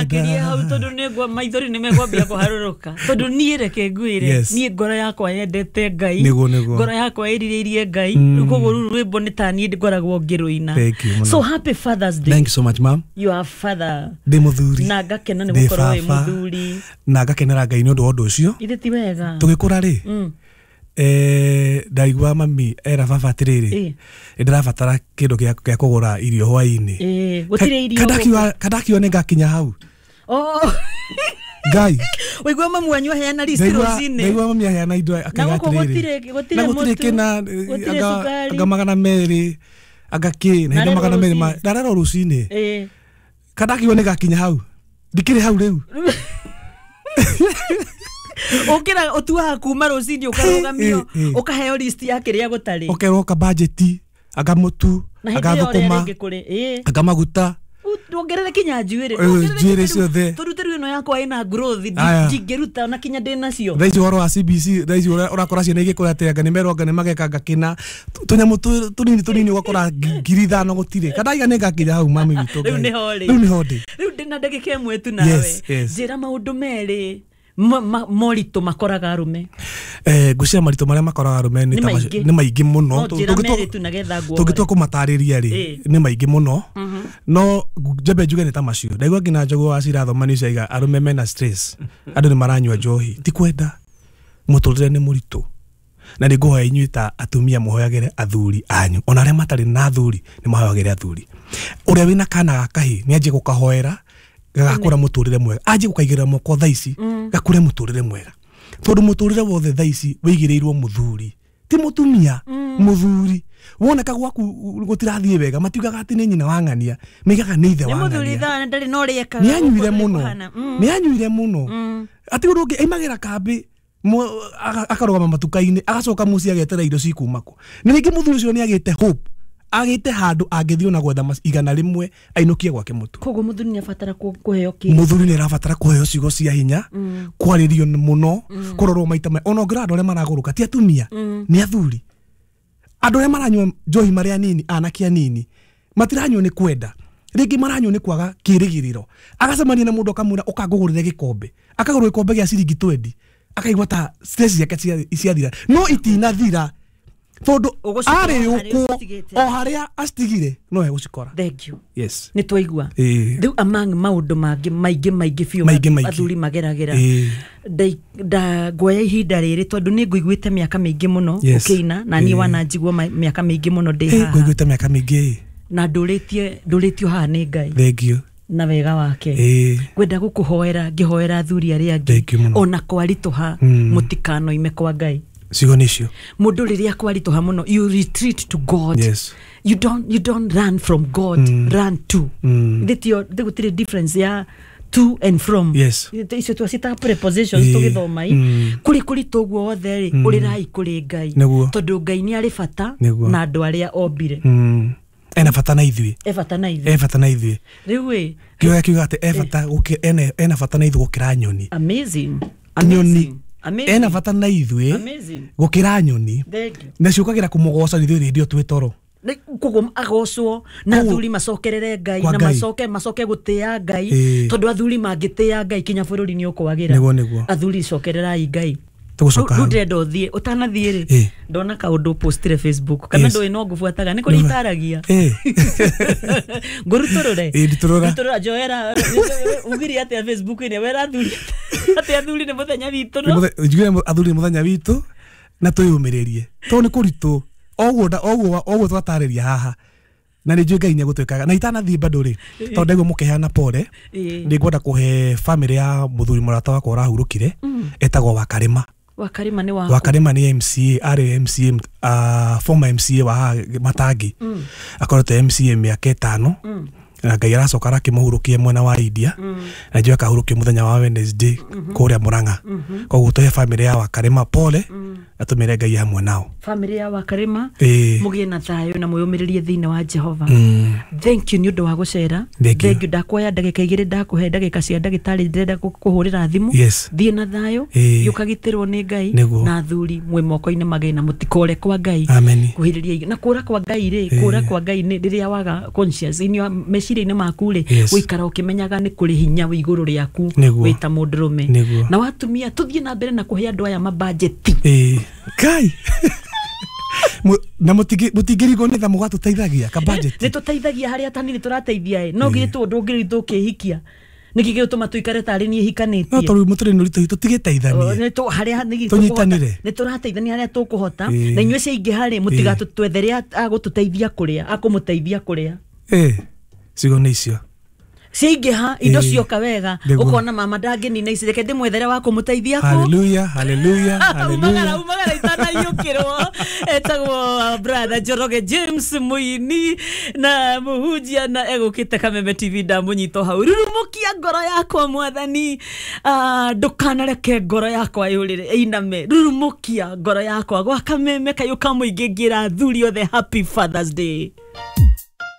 Ndũgakirie hau tondũ nĩ maithori nĩ megwambia kũharũrũka. Tondũ niĩ reke ngwĩre, niĩ ngoro yakwa yendete Ngai. Ngoro yakwa ĩrirĩirie Ngai. Rĩu koguo rũrũ rwĩmbo nĩ ta niĩ ngoragwo ngĩrũina. So happy Father's Day. Thank you so much, ma'am. You are father. Ndĩ mũthuri. Na ngakena nĩ gũkorwo wĩ mũthuri. Na ngakenera Ngai nĩ ũndũ wa ũndũ ũcio. Ithe ti wega. Tũgĩkũra rĩ, ndaigua mami era baba atĩrĩrĩ, ndĩrabatara kĩndũ gĩa kũgũra irio hwaĩ-inĩ. Gũtirĩ irio. Kandakiuga nĩ ngakinya hau. Ngai. Waigua mamu wanyu aheana list rũcinĩ. Ndaigua mami aheana indo akaiga atĩrĩrĩ. Na gũtirĩ kĩna, anga 200, anga kĩ, na indo 200. Ndarerwo rũcinĩ. Kandakiuga nĩ ngakinya hau. Ndikĩrĩ hau rĩu. Ukira utuaga kuma rũcinĩ ũkarũgamio ũkaheo list ya kĩrĩa gũtarĩ, ũkerwo ka budget, anga mũtu, anga thũkũma, anga maguta, ndongerere kinya njuĩrĩ, njuĩrĩ ciothe, tũrute rĩu ĩno yakwa ĩna growth ndingĩruta ona kinya ndĩ nacio. Thaa ici ũhoro wa CBC, thaa ici ũrakora ciana igĩkũra atĩ anga nĩ merwo anga nĩ mageka anga kĩna tũnyamũ tũnini tũnini ũgakora 5,000 gũtirĩ. Kandaiga nĩ ngakinya hau mami witũ. Rĩu nĩho rĩ, rĩu nĩho ndĩ. Rĩu ndĩna ndagĩka ĩmwe tu nawe, njĩra maũndũ merĩ moritũ makoraga arũme. Ngwĩciria maritũ marĩa makoraga arũme nĩ maingĩ mũno. Tũngĩtua kũmatarĩria rĩ, nĩ maingĩ mũno. No njambe njuge nĩ ta macio. Ndaigua nginya Njogu wa Cira thoma news yaiga arũme mena stress, andũ nĩ maranyua njohi. Ti kwenda, mũtũrĩre nĩ mũritũ. Na nĩ ngũhoya inyuĩ ta atumia mũhoyagĩre athuri anyu. Ona arĩa matarĩ na athuri nĩ mahoyagĩre athuri. Ũrĩa wĩna kana ga kahĩĩ nĩ anjie gũkahoera gagakũra mũtũrĩre mwega, anjie gũkaigĩrĩra moko thaa ici gakũre mũtũrĩre mwega, tondũ mũtũrĩre wothe thaa ici wĩigĩrĩirwo mũthuri, ti mũtumia. Mũthuri woneka gwaku gũtirathiĩ wega, matiugaga atĩ nĩ nyina wa ng'ania, maigaga nĩ ithe wa ng'ania. Nĩ anyuire mũno, nĩ anyuire mũno, atĩ ũndũ ũngĩ aimagĩra kambĩ akarũgama matuka-inĩ, agacoka mũciĩ agetera irio cikuma kũ. Na rĩngĩ mũthuri ũcio nĩ agĩte hope, agĩte handũ angĩthiĩ ona gwetha 100 ainũkie gwake mũtu. Koguo mũthuri nĩ abatara kũheo kĩ? Mũthuri nĩ arabatara kũheo ciugo cia hinya, kwarĩrio mũno, kũrorwo maita ona ũngĩrora andũ arĩa maragũrũka ti atumia, nĩ athuri. Andũ arĩa maranyua njohi marĩ anini, anake anini, matiranyua nĩ kwenda, rĩngĩ maranyua nĩ kwaga kĩrĩgĩrĩro. Agacemania na mũndũ akamwĩra ũkangũgũrĩre gĩkombe, akagũra gĩkombe gĩa ciringi 20, akaigua ta stress ciake ciathira, no itinathira tondũ arĩ ũkwo o harĩa acitigire no egũcikora. Thank you. Yes. Nĩ twaigua. Rĩu among maũndũ mangĩ maingĩ maingĩ biũ athuri mageragĩra, nguoya ihinda rĩrĩ tondũ nĩ ngũiguĩte mĩaka mĩingĩ mũno ũkĩina, na niĩ wananjigua mĩaka mĩingĩ mũno ndĩ haha. Ngũiguĩte mĩaka mĩingĩ. Na ndũrĩtio haha nĩ Ngai. Thank you. Na wega wake. Ngwenda gũkũhoera, ngĩhoera athuri arĩa angĩ ona kwaritũha mũtikanoime kwa Ngai. Ciugo nĩ icio. Mũndũ rĩrĩa kwaritũha mũno, you retreat to God. Yes. You don't run from God, run to. Gũtirĩ difference ya to and from. Yes. Icio twacitaga prepositions tũgĩthoma i. Kũrĩ kũritũ ũguo wothe rĩ, ũrĩrai kũrĩ Ngai. Tondũ Ngai nĩ arĩ bata na andũ arĩa ombire. Ena bata na ithuĩ. E bata na ithuĩ. E bata na ithuĩ. Rĩu ĩ, kiuga kiuga atĩ e bata ena bata na ithuĩ gũkĩra nyoni. Amazing. Nyoni. Ena bata na ithuĩ gũkĩra nyoni. Na ciũkagĩra kũmũgoca ithuĩ rĩndio twĩ toro. Koguo agocwo na athuri macokerere Ngai, na macoke gũtĩa Ngai, tondũ athuri mangĩtĩa Ngai kinya bũrũri nĩ ũkwagĩra. Athuri cokererai Ngai. Rĩu ndĩrenda ũthiĩ, ũtanathiĩ rĩ, ndona kaũndũ postire Facebook, kana ndũĩ no ngũbuataga, nĩ kũrĩ itaragia. Ngũrutũrũre. Rutũrũra. Njoera, ugire atĩa Facebook-inĩ, wera athuri atĩ athuri nĩ mũthenya witũ, no? Njugire athuri nĩ mũthenya witũ, na twĩyũmĩrĩrie. Tondũ nĩ kũritũ, oguo twatarĩria haha. Na nĩ njũĩ Ngai nĩ egũtwĩkaga. Na itanathiĩ bado rĩ, tondũ ndaigua mũkĩheana pole, nĩ ngwenda kũhe famĩlĩ ya mũthuri mũrata wakwa ũrahurũkire, etagwo Wakarĩma. Wakarĩma nĩ waku? Wakarĩma nĩ MCA, arĩ MCA, former MCA wa haha Matangi. Akoretwo MCA mĩaka 5. Na Ngai aracoka arakĩmũhurũkia mwena wa India. Na njũĩ akahurũkio mũthenya wa Wednesday kũrĩa Murang'a. Koguo tũhe famĩlĩ ya Wakarĩma pole. Na tũmĩre Ngai hamwe nao. Family ya Wakarĩma, mũgĩe na thayũ na mwĩyũmĩrĩrie thĩinĩ wa Jehova. Thank you nĩ ũndũ wa gũcera. Thank you. Ndakuoya ndagĩka 2, ndakũhe ndagĩka cia ndagĩtarĩ, ndĩrenda kũhũrĩra thimũ. Thiĩ na thayũ, ũkagitĩrwo nĩ Ngai. Na athuri mwĩ moko-inĩ magĩ na mũtikore kwa Ngai. Kuhĩrĩria na kũra kwa Ngai rĩ, kũra kwa Ngai nĩ rĩrĩa waga conscious in your meciria-inĩ maku rĩ, gũikara ũkĩmenyaga nĩ kũrĩ hinya wĩ igũrũ rĩaku wĩ ta mũndũrũme. Na watumia tũthiĩ na mbere na kũhe andũ aya mabajeti. Kai na mũtingĩrigwo nĩ tha mũgatũteithagia ka budget. Nĩ tũteithagia harĩa tanini tũrateithia ĩ, no githĩ ndũngĩrĩ tũkĩhikia nĩkĩ gĩgũtũma tũikare tarĩ niĩ hikanĩtie? No tondũ mũtũrĩ nĩ ũritũ tũtigĩteithanie. Tũnyitanĩre. Nĩ tũrateithania harĩa tũkũhota. Na inyuĩ ciaingĩha rĩ, mũtigatwethere agũtũteithia kũrĩa, akũmũteithia kũrĩa. Ciugo nĩ icio. Ciaingĩha indo cioka wega, ũkona mama ndangĩnina ici, reke ndĩmwethere wa kũmũteithia kũ. Hallelujah, hallelujah, hallelujah. Umagara itanaiyũkĩrwo. Etagwo brother Njoroge James mũini na mũhunjia na egũkĩte Kameme TV, ndamũnyita hau. Rurumũkia ngoro yakwa mwathani, ndũkanareke ngoro yakwa yũrĩre ĩiname. Rurumũkia ngoro yakwa gwa Kameme kayũ ka mũingĩ ngĩra athuri othe happy Father's Day.